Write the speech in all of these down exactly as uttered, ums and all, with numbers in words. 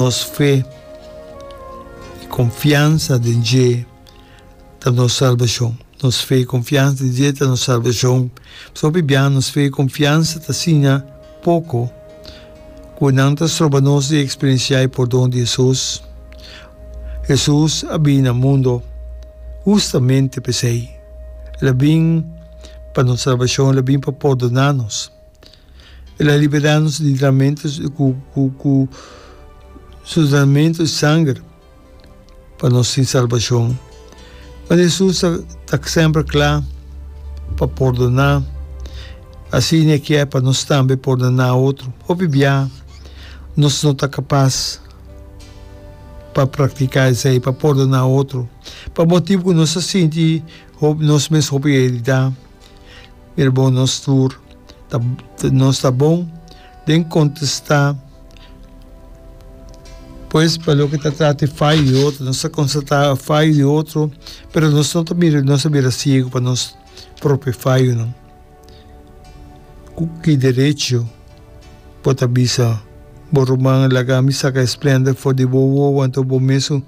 Nos fe i konfiansa den dje ta nos salbashon. Nos fe i konfiansa den dje ta nos salbashon. Pasobra hopi biaha nos fe i konfiansa ta asina poko ku nan ta stroba nos di eksperensiá e pordon di Hesus. Hesus a bini na mundo hustamente p'esei. El a bin pa nos salbashon, el a bin pa pordoná nos. El a liberá nos di dramentu ku ku ku su dramentu di sanger pa nos tin salbashon. Pero Hesus ta ta semper kla pa pordoná, asina e kier pa nos tambe pordoná otro. Hopi bia nos no ta kapas pa praktiká esei, pa pordoná otro, pa motibu ku nos ta sinti nos mes hopi heridá. Mira bon nos tur ta nos ta bon den contesta pues pa loke ta trata e fayo di otro nos ta constata fayo di otro pero nos no ta mira nos ta bira ciego pa nos propio fayonan cu ki derecho bo ta bisa bo ruman laga mi saca e splender for di bo wowo anto bo mesun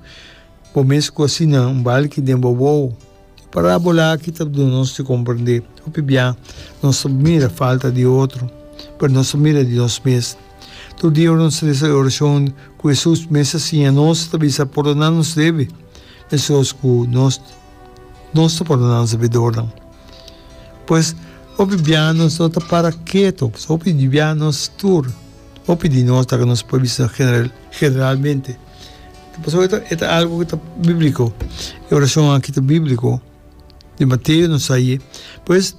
bo mes cu asina un balki den bo wowo. E parábola aki ta duna nos di komprendé hopi bia nos ta mira falta di otro, pero nos ta mira di nos mes. Tur dia ora nos resa e orashon ku Hesus mes a siña nos, ta bisa, Pordoná nos debe, meskos ku nos nos ta pordoná nos debedornan. Pues, hopi bia nos no ta para ketu, hopi bia nos tur, hopi di nos, laga nos por bisa generalmente, Pasobra e ta, e ta algo ku ta bíbliko. E orashon aki ta bíbliko. Di Mateo nos sa aye. Pues,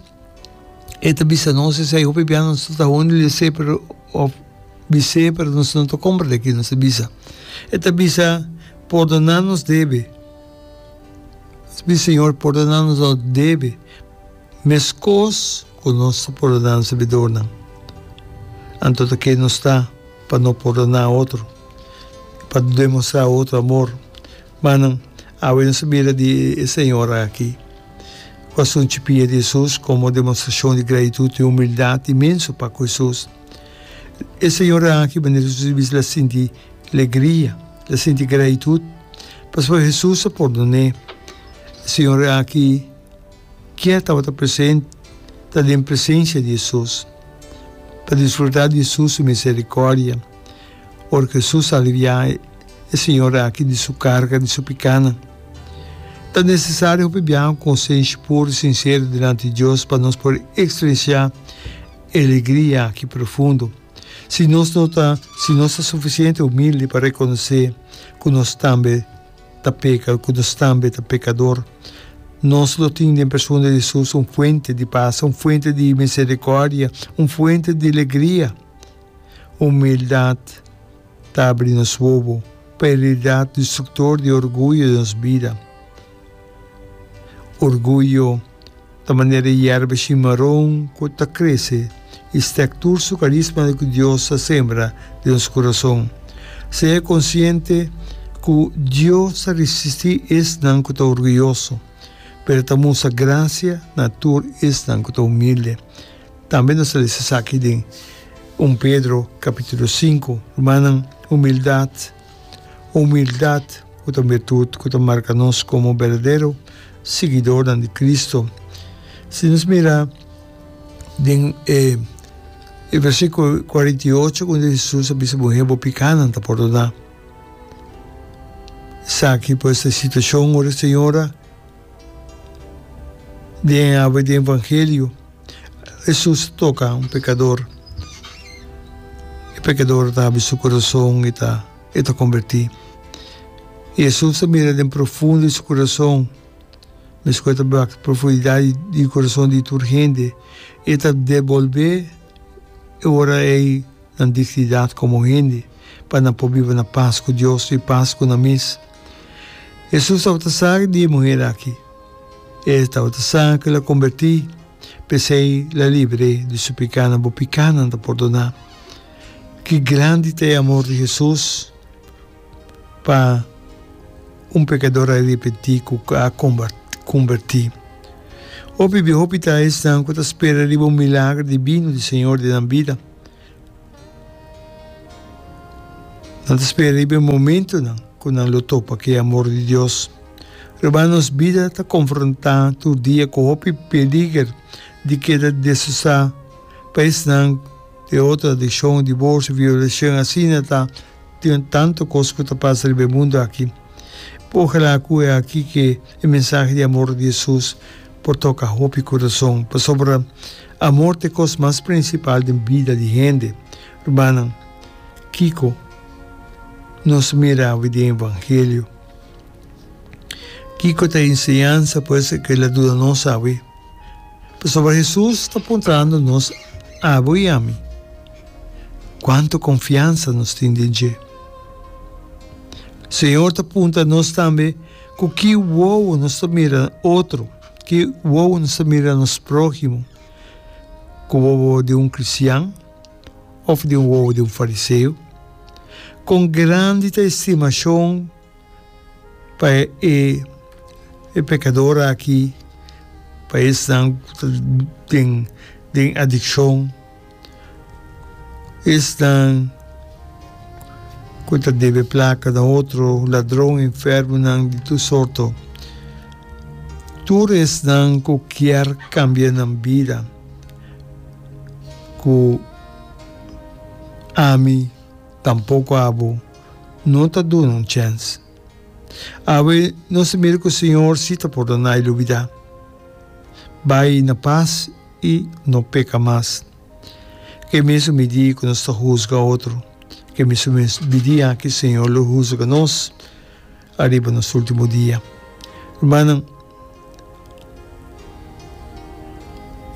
e ta bisa nos esei hopi bia nos ta hondi les'é pero òf bis'é pero nos no ta komprendé ke nos ta bisa. E ta bisa, Pordoná nos debe. Nos bisa, Señor, pordoná nos nos debe, meskos ku nos ta pordoná nos debedornan. Anto ta ke nos ta pa no pordoná otro? Pa demostrá otro amor. Manan, awe nos ta mira di e señora aki ku a sunchi pia di Hesus komo demostrashon di gratitut i humildat inmenso pa ku Hesus. E señora aki, manera Hesus a bisa, el a sinti legria, el a sinti gratitut pasobra Hesus a pordon'é. E señora aki kier tabata presente, ta den presensia di Hesus, pa disfrutá di Hesus su miserikòrdia. Ora ku Hesus a aliviá e señora aki di su karga di su pikánan, ta nesesario hopi biaha un konsenshi puru i sinsero dilanti di Dios pa nos por eksperensiá e alegria aki profundo. Si nos no ta, si nos ta sufisiente humilde pa rekonosé ku nos tambe ta peka, ku nos tambe ta pekador, nos lo tin den persona di Hesus un fuente di pas, un fuente di miserikòrdia, un fuente di alegria. Humildat ta abri nos wowo pa e realidat destruktor di orguyo den nos bida. Orguyo ta manera e yerba shimaron ku ta krese i stek tur su karisma ku Dios a sembra den nos kurason. Sea konsiente ku Dios ta risistí esnan ku ta orguyoso, pero ta mustra grasia na tur esnan ku ta humilde. Tambe nos ta lesa esaki den un Pedro capítulo sinku. Rumannan, humildad, humildad cu ta un virtud cu ta marca nos como berdadero siguidornan di Cristo. Si nos mira den e e versículo cuarenta i ocho unda Jesus a bisa muher bo picanan ta pordona. Esaki pues ta e situacion ora e señora Den awe di evangelio, Hesus ta toka un pekador. E pekador ta habri su kurason i ta e ta kombertí. I Hesus ta mira den profundo di su kurason, meskos e ta wak profundidat di kurason di tur hende, e ta debolbé e ora ei nan dignidat komo hende, pa nan por biba na pas ku Dios i pas ku nan mes. Hesus tabata sa di e muher aki. E tabata sa ku el a kombertí, p'esei el a libr'é di su pikánan. Bo pikánan ta pordoná. Ki grandi ta e amor di Hesus pa un pekador arepentí ku a kombertí! Hopi bia hopi ta esnan ku ta spera riba un milager dibino di Señor den nan bida. Nan ta spera riba e momentonan ku nan lo topa ku e amor di Dios. Ruman, nos bida ta konfrontá tur dia ku hopi peliger di keda destrosá pa esnan di otro adikshon, diborsio, violashon, asina ta tin tantu kos ku ta pasa riba e mundu aki. Ojalá ku e aki ke e mensahe di amor di Hesus por toka hopi kurason, pasobra amor ta e kos mas prinsipal den bida di hende. Rumannan, kiko nos mira awe den Evangelio? Kiko ta e enseñansa pues ku el a duna nos awe? Pasobra Hesus ta puntrando nos, abo i ami, kuantu konfiansa nos tin den dje. Señor ta puntra nos tambe ku ki wowo nos ta mira otro, ki wowo nos ta mira nos próhimo, ku wowo di un kristian òf di un wowo di un fariseo? Kon grandi ta e stimashon Pa e e pekador aki, pa esnan ku ta den den adikshon, esnan ku ta debe plaka na otro, ladron, enfermonan di tur sorto, tur esnan ku kier kambia nan bida ku ami tampoko abo no ta duna un chèns. Awe nos ta mira ku Señor si ta pordoná i lubidá. Bai na pas i no peka mas. Ke mesun midí ku nos ta husga otro, ke mesun midí aki Señor lo husga nos ariba nos último dia. Rumannan,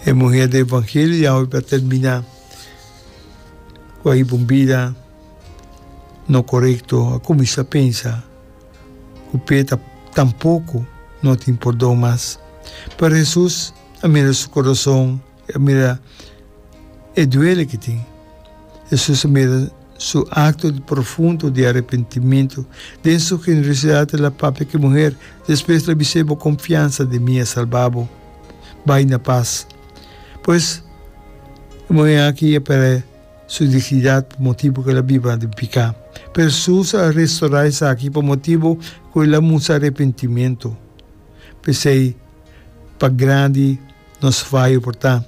e muher den Evangelio di awe pa terminá ku a hiba un bida. No korekto a kuminsá pensa ku p'e ta tampoko no tin pordon mas. Pero Hesus a mira su kurason, a mira e duele ku tin. Hesus a mira su akto di profundo di arepentimentu. Den su generosidat el a papia ku e muher, despues el a bis'é, Bo konfiansa den mi a salba bo. Bai na pas. Pues, e muher aki a pèrdè. Su dignidat pa motibu ku el a biba den piká. Pero Hesus a restorá esaki pa motibu ku el a mustra arepentimentu. P'esei, pa grandi nos fayo por ta,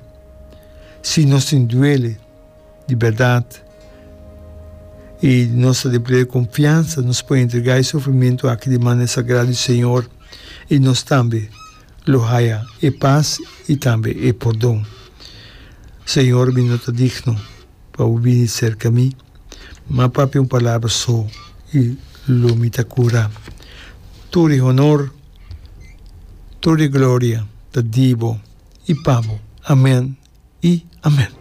si nos tin duele di bèrdat i nos ta den pleno konfiansa, nos por entregá e sufrimentu aki den manera sagrado di Señor i nos tambe lo haya e pas i tambe e pordon. Señor, mi no ta digno pa bo bini serka mi, ma papia un palabra so i lo mi ta kura. Tur e honor, tur e gloria ta di bo i pa bo. Amen i amen.